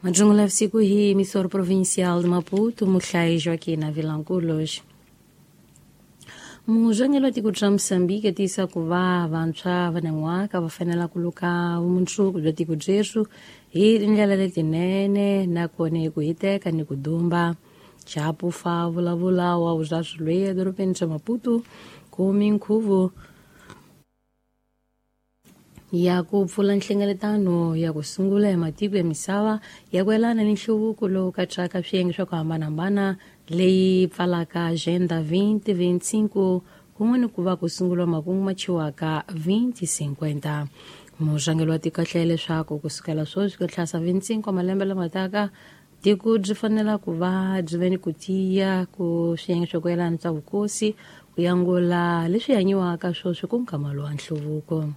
Majungula vusiku hi emissor provincial de Maputo, Muhlai Joaquim Vilanculos. Murhangeri wa tiko ra Mozambique tiyisa ku va vantshwa va nan'waka va fanela ku luka vumundzuku bya tiko ryeru hi tindlela letinene nakona hi ku hiteka ni ku dumba. Chapufa vulavula wa vuzaswi loyi edorobeni ra Maputo ku minkhuvo ya ku pfula nhlengeletano ya ku sungula ya matiko ya misava ya ku yelana ni nhluvuko lowu katsaka swiyenge swa ku hambanahambana leyi pfalaka Agenda 2025 kun'we ni ku va ku sunguriwa makungu ma chiwaka 2050. Murhangeri wa tiko a hlela leswaku ku sukela sweswi ku tlhasa 25 wa malembe lama taka tiko byi fanela ku va byi ve ni ku tiya ku swiyenge swa ku yelana swa vukosi ku yangula leswi hanyiwaka sweswi ku nkama lowa nhluvuko.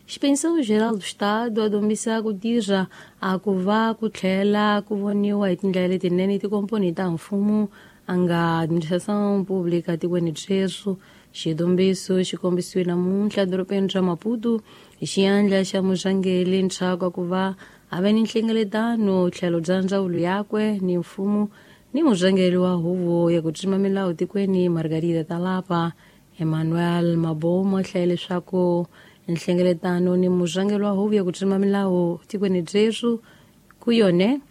Xipensão Geral do Estado a dombisa ku tirha a ku va ku tlhela ku voniwa hi tindlela letinene tikomponi ta mfumo a nga administração pública tikweni ryeru. Xidombiso xi kombisiwe namuntlha edorobeni ra Maputo hi xiandla xa murhangeri ntshaku ku va a ve ni nhlengeletano tlhelo bya ndzawulo yakwe ni mfumo ni murhangeri wa huvo ya ku tsima milawu tikweni Margarida Talapa. Emmanuel Mabomo a hlaye leswaku nhlengeletano ni murhangeri wa huvo ya ku tsima milawu tikweni ryeru ku yone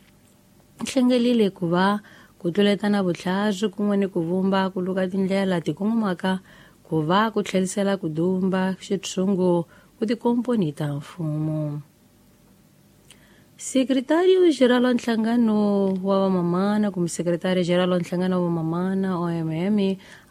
hlengelile ku va ku tluletana vutlhari kun'we ni ku vumba ku luka tindlela ti kongomaka ku va ku tlherisela ku dumba xitshungu ku tikomponi ta mfumo. Sekretário Geral wa Nhlangano wa Vamamana kumbe Sekretariyo Geral wa Nhlangano wa Vamamana OMM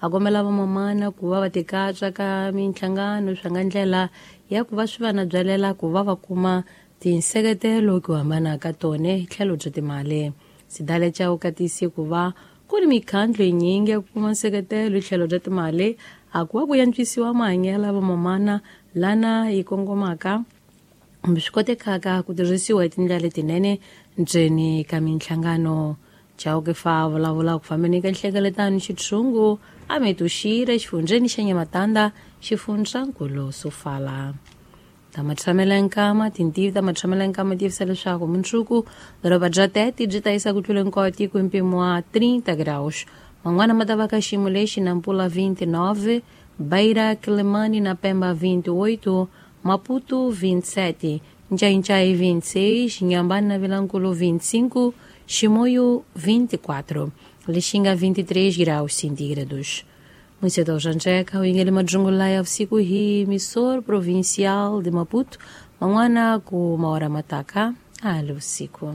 a kombela vamamana ku va va tikatsa ka minhlangano swa nga ndlela ya ku va swi va na byalela ku va va kuma tinseketelo ku hambana ka tone hi tlhelo bya timali. Sidale Chauke tiyise ku va ku ni mikhandlu yinyingi ya ku kuma nseketelo hi tlhelo bya timali a ku va ku antswisiwa mahanyelo ya vamamana lana yi kongomaka kumbe swi kotekaka ku tirhisiwa hi tindlela letinene ndzeni ka minhlangano. Chauke fa vulavula ku fambeni ka nhlengeletano xitshungu a Metuxira exifundzheni xa Nyamatanda xifundzankulu Sofala. Ta matshamelo ya nkama tintivi ta matshamelo ya nkama tivisa leswaku mundzuku doroba bya Tete byi ta yisa ku tlula hinkwayo tiko hi mpimo wa 30 graus. Man'wana ma ta va ka xiyimo lexi Nampula 29, Beira, Quelimane na Pemba 28, Maputo 27, Ncainchai 26, Inhambane na Vilanculo 25, Chimoio 24, Lixinga 23 graus centígrados. Municipal Janjeca, o Ingele Majungulaya usiku hii emissor provincial de Maputo, mangwana ku maora mataka ali usiku.